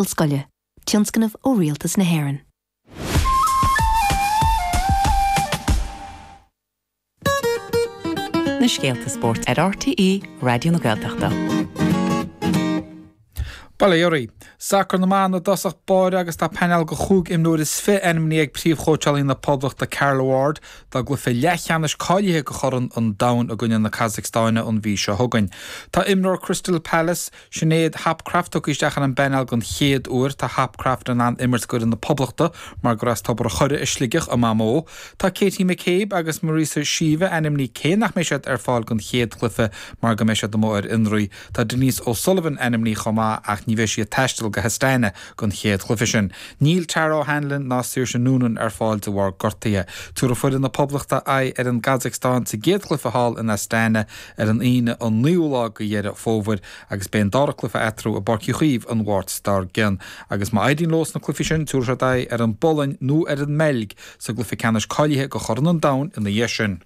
Ollscoile, tionscnamh ó Rialtas na hÉireann. Na scéalta spóirt ar RTÉ Raidió na Gaeltachta. Bail ó Dhia oraibh. Sacar na mban i dtosach báire agus tá painéal de chúig imreoir is 20 ainmnithe ag príomhchóitseálaí na Poblachta Carla Ward dá gcluiche leathcheannais cáilithe do Chorn an Domhain i gcoinne na Casacstáine an mhí seo chugainn. Tá imreoir Crystal Palace, Sinéad Hopcroft tugtha isteach ar an bpainéal den chéad uair. Tá Hopcroft in ann imirt d'fhoireann na Poblachta mar gur as Tobar a' Choire i Sligeach a mamó. Tá Katie McCabe agus Marissa Sheva ainmnithe cé nach mbeidh siad ar fáil don chéad chluiche mar go mbeidh siad amuigh ar fhionraí. Tá Denise O'Sullivan ainmnithe chomh maith ach ní bheidh sí ag taisteal go hAstana don chéad chluiche sin. Níl Tara O'Hanlon ná Saoirse Noonan ar fáil de bharr gortaithe. Tabharfaidh foireann na Poblachta aghaidh ar an gCasacstáin sa gcéad chluiche thall in Astana ar an Aoine an 9ú lá de Dheireadh Fómhair agus beidh an dara cluiche eatarthu i bPáirc Uí Chaoimh an Mháirt dár gcionn. Agus má éiríonn leo sna cluichí sin, tabharfaidh siad aghaidh ar an bPolainn nó ar an mBeilg sa gcluiche ceannais cáilithe do Chorn an Domhain ina dhiaidh sin.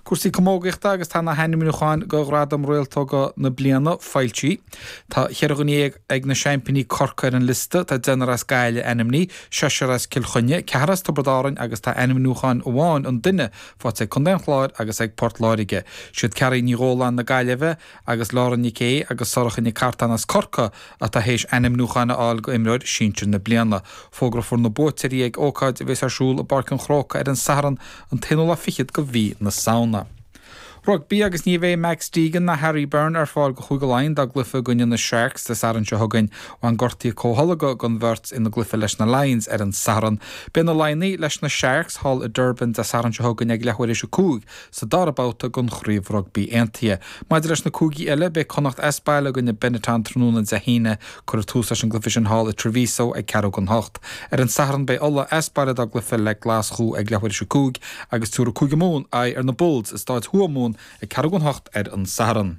Cúrsaí camógaíochta agus tá na hainmniúcháin do Ghradam Réaltóga na Bliana foilsithe. Tá cheithre dhuine dhéag ag na seaimpíní Corcaigh ar an liosta, tá deichniúr as Gaillimh ainmnithe, seisear as Cill Chainnigh, ceathrar as Tiobraid Árann agus tá ainmniúchán amháin an duine faighte ag Contae an Chláir agus ag Port Láirge. Siad Cearaí Ní Dhóláin na Gaillimhe agus Laura Nic Aodha agus Sorcha Nic Cartáin as Corcaigh atá théis ainmniúcháin a fháil go Imreoir Sinsir na Bliana. Fógrófar na buaiteoirí ag ócáid a bheas ar siúl i bPáirc an Chrócaigh ar an Satharn an t-aonú lá fichead go mhí na Samhna. Rugbaí agus ní bheidh Max Deegan ná Harry Byrne ar fáil go Chúige Laighean dá gcluiche i gcoinne na Sharks Dé Sathairn seo chugainn. Bhain gortuithe comhtholgtha don bheirt ina gcluiche leis na Lions ar an Satharn. Beidh na Laighnigh leis na Sharks thall i Durban Dé Sathairn seo chugainn ag leathuair théis 5 sa dara babhta den Chraobh Rugbaí Aontaithe. Maidir leis na cúigí eile, beidh Connacht as baile i gcoinne Benetton tráthnóna Dé hAoine. Cuirfear tús leis an gcluiche sin thall i Treviso ag ceathrú don hocht. Ar an Satharn beidh Ulaidh as baile dá gcluiche le Glaschú ag leathuair théis 5 agus tabharfaidh Cúige Mumhan aghaidh ar na Bulls i Stáid Thuamhumhan ag ceathrú don hocht ar an Satharn.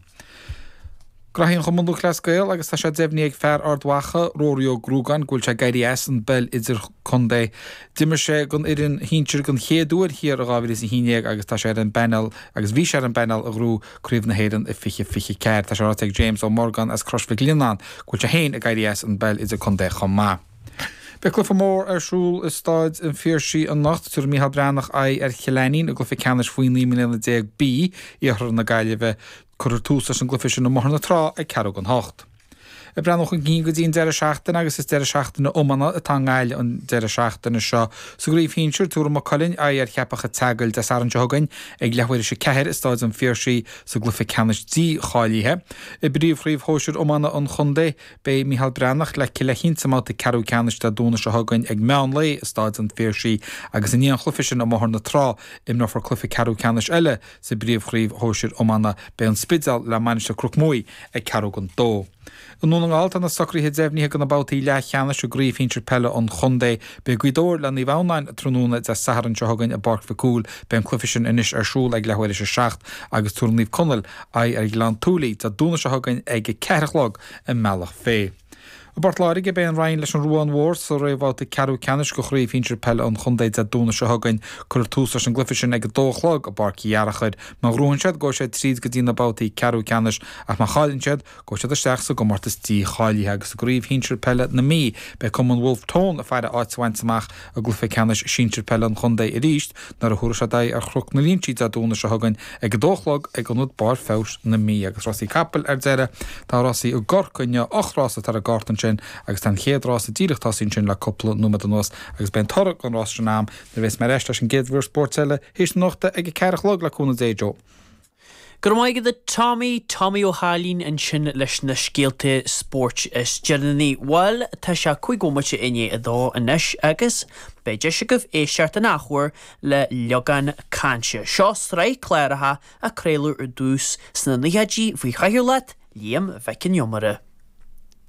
Graithí an Chumann Lúthchleas Gael agus tá sé deimhnithe ag fear Ard Mhacha, Rory Ó Gruagáin, go bhfuil sé ag éirí as an bpeil idirchontae. D'imir sé don fhoireann shinsir den chéad uair thiar i 2011 agus tá sé ar an bpainéal agus bhí sé ar an bpainéal a ghnóthaigh Craobh na hÉireann i 2024. Tá sé ráite ag James Ó Morgáin as Crois Mhic Lionnáin go bhfuil sé féin ag éirí as an bpeil idirchontae chomh maith. Beidh cluiche mór ar siúl i Stáid an Phiarsaigh anocht. Tabharfaidh Micheál Breathnach aghaidh ar Chill Ainnín i gcluiche ceannais faoi 19 mbliana B, Iarthar na Gaillimhe. Cuirfear tús leis an gcluiche sin i mBóthar na Trá ag ceathrú don hocht. Ag breathnú chun cinn go dtí an deireadh seachtaine agus is deireadh seachtaine iomána atá i nGaillimh an deireadh seachtaine seo. Sa gcraobh shinsir, tabharfaidh Maigh Cuilinn aghaidh ar Cheapach an tSeagail Dé Sathairn seo chugainn ag leathuair théis a ceathair i Stáid an Phiarsaigh sa gcluiche ceannais dícháilithe. I bpríomhchraobh shóisir iomána an chontae, beidh Micheál Breathnach le Cill Aithint sa mbabhta ceathrú ceannais Dé Domhnaigh seo chugainn ag meán lae i Stáid an Phiarsaigh agus i ndiaidh an chluiche sin i mBóthar na Trá, imreofar cluiche ceathrú ceannais eile Sa bpríomhchraobh shóisir iomána, beidh An Spidéal le Mainistir Chnoc Muaidh ag ceathrú don dó. I nDún na nGall tá na socruithe deimhnithe do na babhtaí leathcheannais i gcraobh shinsir peile an chontae. Beidh Gaoth Dobhair le Naomh Adhamhnáin tráthnóna Dé Sathairn seo chugainn i bPáirc Mhic Cumhaill. Beidh an cluiche sin anois ar siúl ag leathuair théis a 7 agus tabharfaidh Naomh Conaill aghaidh ar Ghleann tSúilí Dé Domhnaigh seo chugainn ag 4 a chlog i mBealach Féich. I bPort Láirge, beidh an Rinn leis an Ruán Mhór sa réamhbhabhta ceathrú ceannais de Chraobh Shinsir Peile an Chontae Dé Domhnaigh seo chugainn. Cuirfear tús leis an gcluiche sin ag 2 a chlog i bPáirc Uí Fhearachair. Má ghnóthaíonn siad, gabhfaidh siad tríd go dtí na babhtaí ceathrú ceannais ach má chailleann siad, gabhfaidh siad isteach sa gcomórtas dícháilithe. Agus i gCraobh Shinsir Peile na Mí, beidh Cumann Bhulf Tón ag faire áit a bhaint amach i gcluiche ceannais sinsir peile an chontae arís nuair a thabharfaidh siad aghaidh ar Chnoc na Linsí Dé Domhnaigh seo chugainn ag 2 a chlog ag Ionad Barr Feabhais na Mí. Agus rásaí capaill ar deireadh. Tá rásaí i gCorcaigh inniu, 8 rás atá ar an gcárta ansin agus tá an chéad rása díreach tosaithe ansin le cúpla nóiméad anuas agus beidh an toradh don rás sin a'm nuair a bheas mé ar ais leis an gcéad mhír spóirt eile théis na nuachta ag 4 a chlog le cúnamh Dé Joe. Go raibh maith agat a Tommy, Tommy Ó hAilín ansin leis na scéalta spóirt is deireanaí. Bhuel, tá sé 5 bhomaite i ndiaidh a dó anois agus beidh deis agaibh éisteacht an athuair le Liogán Cainte. Seo sraith cláracha a craoladh ar dtús sna naochaidí faoi chathaoirleacht Liam Mhic Con Iomaire.